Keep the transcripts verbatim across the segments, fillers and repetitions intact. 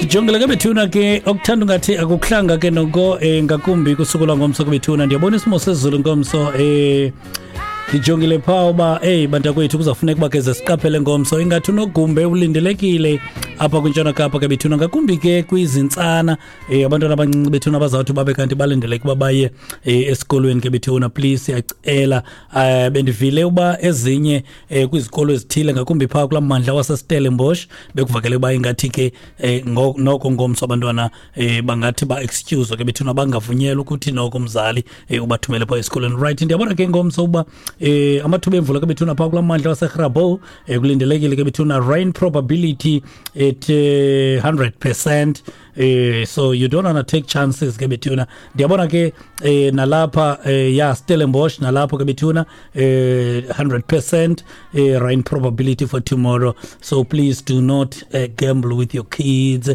Ndijongile ke bethuna ke, okuthanda ungathi akukuhlanga ke noko, eh, ngakumbi kusuku lwangomso ke bethuna. Ndiyabona isimo sezulu ngomso, eh ndijongile phaa uba eyi bantakwethu, kuzawufuneka uba ke ze siqaphele ngomso. Ingathi unogumbe ulindelekile apha kwiNtshona Kapa ke bethuna, ngakumbi ke kwizintsana, um abantwana abancinci bethuna bazawuthi babe kanti balindeleke uba baye um esikolweni ke bethuna. Please, siyacela. um bendivile uba ezinye um kwizikolo ezithile, ngakumbi phaa kulaa mmandla waseStellenbosch, bekuvakele uba ingathi ke um noko ngomso abantwana um bangathi ba-excuse ke bethuna, bangavunyelwa ukuthi noko umzali um ubathumele phaa esikolweni. Right, ndiyabona ke ngomso uba eh amathuba emvula ke bethuna phaa kulaa mmandla waseGrabouw eh kulindelekile ke bethuna, rain probability at eh, one hundred percent, eh so you don't wanna take chances ke bethuna. Ndiyabona ke eh nalapha eh ya Stellenbosch nalapho ke bethuna, eh one hundred percent eh rain probability for tomorrow, so please do not uh, gamble with your kids. uh,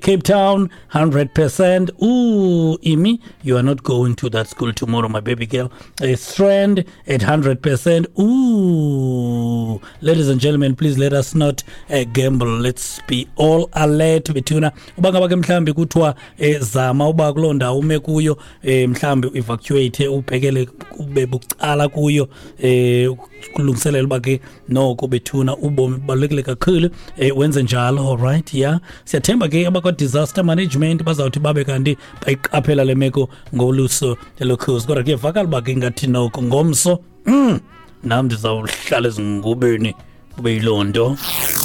Cape Town, one hundred percent. Ooh, Imi, you are not going to that school tomorrow, my baby girl. uh, Strand at one hundred percent. Ooh, ladies and gentlemen, please let us not uh, gamble. Let's be all alert bethuna. Uba ngaba ke mhlambi kuthiwa eh, zama uba kuloo ndawo ume kuyo, eh, mhlambi evacuate, ubhekele kube bucala kuyo, eh kulungiselela uba ke noko bethuna ubomi bubalulekile kakhulu, eh wenze njalo. All right, yeah, siyathemba ke abakwa disaster management bazawuthi babe kanti bayiqaphela le meko ngoluso elokhozi, kodwa kuyevakala uba ke ngathi noko ngomso mm, nam ndizawuhlala ezingubeni, kube yiloo nto.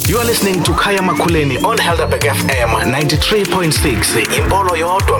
You are listening to Kaya Makuleni on Helderberg F M ninety-three point six. Impolo yodwa.